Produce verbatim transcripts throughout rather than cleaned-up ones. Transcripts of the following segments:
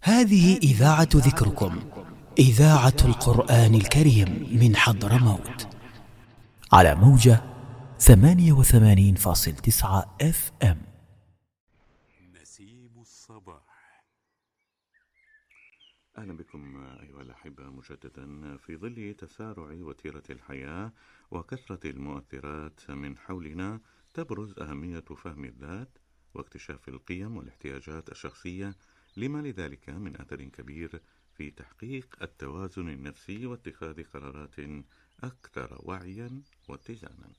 هذه إذاعة ذكركم، إذاعة القرآن الكريم من حضرموت، على موجة ثمانية وثمانين فاصل تسعة اف ام. نسيم الصباح. أهلا بكم أيها الأحبة مجددا. في ظل تسارع وتيرة الحياة وكثرة المؤثرات من حولنا، تبرز أهمية فهم الذات واكتشاف القيم والاحتياجات الشخصية، لما لذلك من أثر كبير في تحقيق التوازن النفسي واتخاذ قرارات أكثر وعيا واتزانا.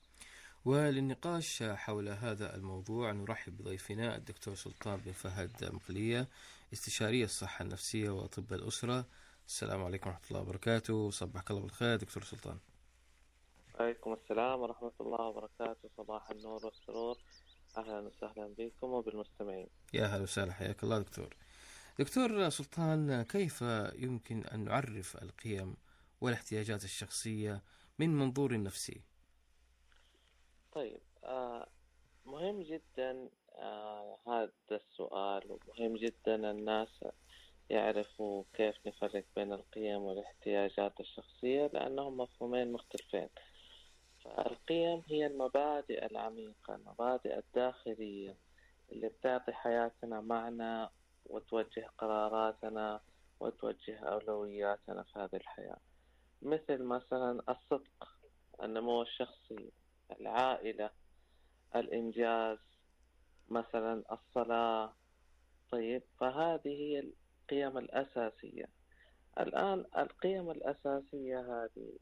وللنقاش حول هذا الموضوع نرحب بضيفنا الدكتور سلطان بن فهد مقلية، استشاري الصحة النفسية وطب الأسرة. السلام عليكم ورحمة الله وبركاته. صبحك الله بالخير دكتور سلطان. عليكم السلام ورحمة الله وبركاته. صباح النور والسرور. أهلا وسهلا بكم وبالمستمعين. يا هلا وسهلا، حياك الله دكتور. دكتور سلطان، كيف يمكن أن نعرف القيم والاحتياجات الشخصية من منظور نفسي؟ طيب، آه مهم جدا آه هذا السؤال، ومهم جدا الناس يعرفوا كيف نفرق بين القيم والاحتياجات الشخصية، لأنهم مفهومين مختلفين. فالقيم هي المبادئ العميقة، المبادئ الداخلية اللي بتعطي حياتنا معنى وتوجه قراراتنا وتوجه أولوياتنا في هذه الحياة، مثل مثلا الصدق، النمو الشخصي، العائلة، الإنجاز، مثلا الصلاة. طيب، فهذه هي القيم الأساسية. الآن القيم الأساسية هذه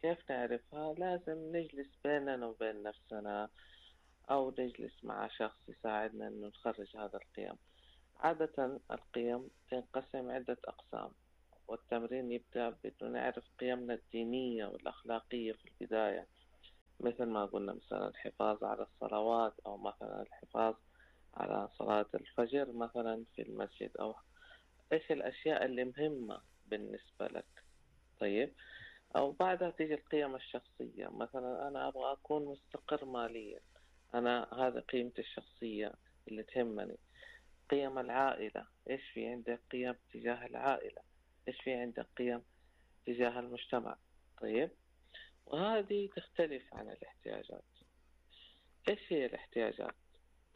كيف نعرفها؟ لازم نجلس بيننا وبين نفسنا، أو نجلس مع شخص يساعدنا أن نخرج هذا القيم. عادة القيم تنقسم عدة أقسام، والتمرين يبدأ بأنه نعرف قيمنا الدينية والأخلاقية في البداية، مثل ما قلنا مثلا الحفاظ على الصلوات، أو مثلا الحفاظ على صلاة الفجر مثلا في المسجد، أو إيش الأشياء اللي مهمة بالنسبة لك. طيب، أو بعدها تيجي القيم الشخصية، مثلا أنا أبغى أكون مستقر ماليا، أنا هذا قيمتي الشخصية اللي تهمني. قيم العائلة، إيش في عندك قيم تجاه العائلة، إيش في عندك قيم تجاه المجتمع. طيب، وهذه تختلف عن الاحتياجات. إيش هي الاحتياجات؟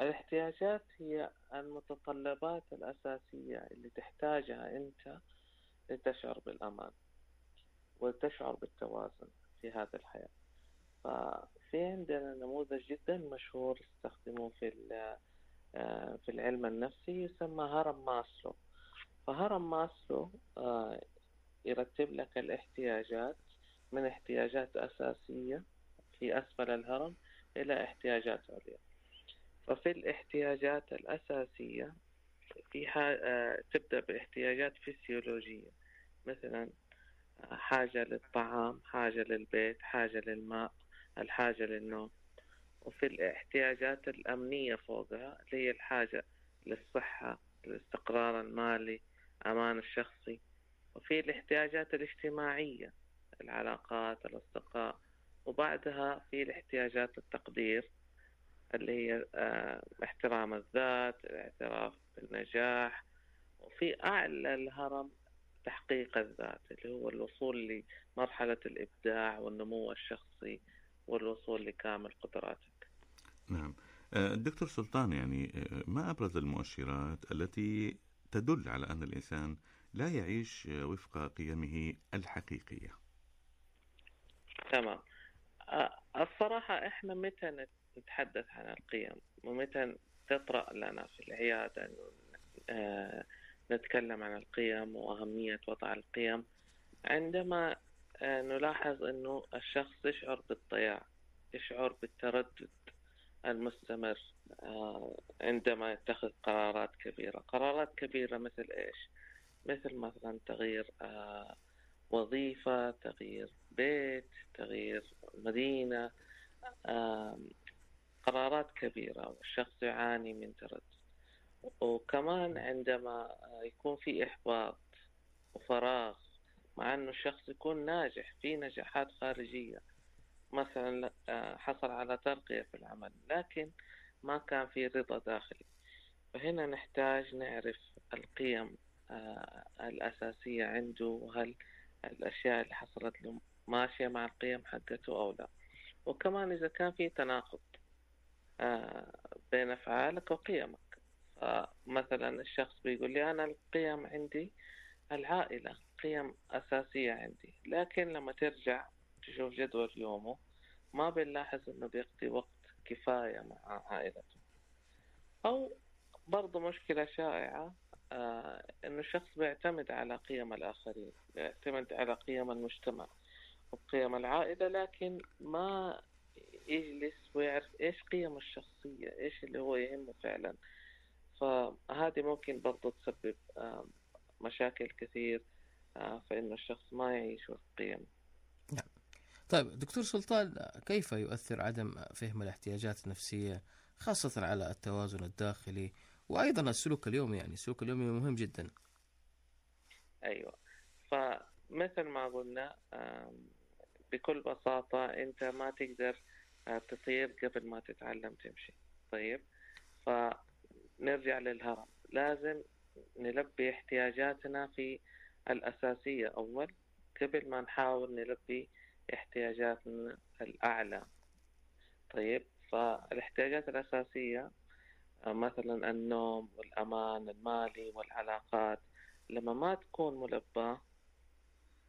الاحتياجات هي المتطلبات الأساسية اللي تحتاجها أنت لتشعر بالأمان وتشعر بالتوازن في هذه الحياة. ففي عندنا نموذج جدا مشهور استخدموه في في العلم النفسي، يسمى هرم ماسلو. فهرم ماسلو يرتب لك الاحتياجات من احتياجات أساسية في أسفل الهرم إلى احتياجات عليا. ففي الاحتياجات الأساسية في تبدأ باحتياجات فسيولوجية، مثلا حاجة للطعام، حاجة للبيت، حاجة للماء، الحاجة للنوم. وفي الاحتياجات الأمنية فوقها اللي هي الحاجة للصحة، الاستقرار المالي، أمان الشخصي. وفي الاحتياجات الاجتماعية، العلاقات، الأصدقاء. وبعدها في الاحتياجات التقدير اللي هي اه احترام الذات، الاعتراف بالنجاح. وفي أعلى الهرم تحقيق الذات، اللي هو الوصول لمرحلة الإبداع والنمو الشخصي والوصول لكامل قدراتك. نعم دكتور سلطان، يعني ما أبرز المؤشرات التي تدل على أن الإنسان لا يعيش وفق قيمه الحقيقية؟ تمام. الصراحة إحنا متى نتحدث عن القيم ومتى تطرأ لنا في العيادة أنه نتكلم عن القيم وأهمية وضع القيم؟ عندما نلاحظ أنه الشخص يشعر بالضياع، يشعر بالتردد المستمر عندما يتخذ قرارات كبيرة. قرارات كبيرة مثل إيش؟ مثل مثلا تغيير وظيفة، تغيير بيت، تغيير مدينة، قرارات كبيرة، والشخص يعاني من تردد. وكمان عندما يكون في إحباط وفراغ، مع أنه الشخص يكون ناجح في نجاحات خارجية، مثلا حصل على ترقية في العمل لكن ما كان في رضا داخلي. فهنا نحتاج نعرف القيم الأساسية عنده، وهل الأشياء اللي حصلت له ماشية مع القيم حقته أو لا. وكمان إذا كان في تناقض بين أفعالك وقيمك. فمثلا الشخص بيقول لي أنا القيم عندي العائلة قيم أساسية عندي، لكن لما ترجع تشوف جدول يومه ما بنلاحظ إنه بيقضي وقت كفاية مع عائلته. أو برضو مشكلة شائعة آه إنه الشخص بيعتمد على قيم الآخرين، بيعتمد على قيم المجتمع وقيم العائلة، لكن ما يجلس ويعرف إيش قيم الشخصية، إيش اللي هو يهمه فعلا. فهذه ممكن برضو تسبب آه مشاكل كثير آه فإنه الشخص ما يعيش وفق قيم. نعم. طيب دكتور سلطان، كيف يؤثر عدم فهم الاحتياجات النفسية خاصة على التوازن الداخلي وأيضا السلوك اليومي؟ يعني السلوك اليومي مهم جدا. أيوة، فمثل ما قلنا بكل بساطة أنت ما تقدر تطير قبل ما تتعلم تمشي. طيب، فنرجع للهرم، لازم نلبي احتياجاتنا في الأساسية أول قبل ما نحاول نلبي احتياجاتنا الأعلى. طيب، فالاحتياجات الأساسية مثلا النوم والأمان المالي والعلاقات لما ما تكون ملباة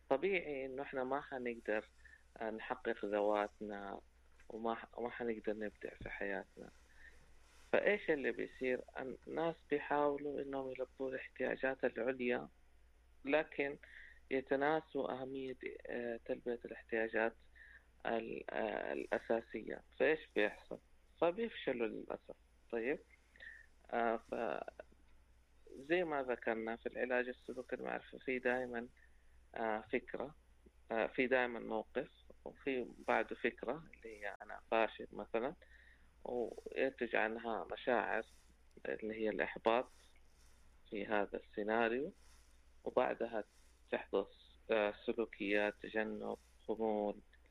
طبيعي إنه إحنا ما حنقدر نحقق ذواتنا وما وما حنقدر نبدع في حياتنا. فإيش اللي بيصير؟ الناس بيحاولوا إنهم يلبوا الاحتياجات العليا، لكن يتناسوا أهمية تلبية الاحتياجات الأساسية. فإيش بيحصل؟ فبيفشلوا للأسف. طيب، آه فزي ما ذكرنا في العلاج السلوكي المعرفي في دائما آه فكرة، آه في دائما موقف، وفي بعده فكرة اللي هي أنا فاشل مثلا، وينتج عنها مشاعر اللي هي الإحباط في هذا السيناريو، وبعدها تحدث آه سلوكيات تجنب، خمول،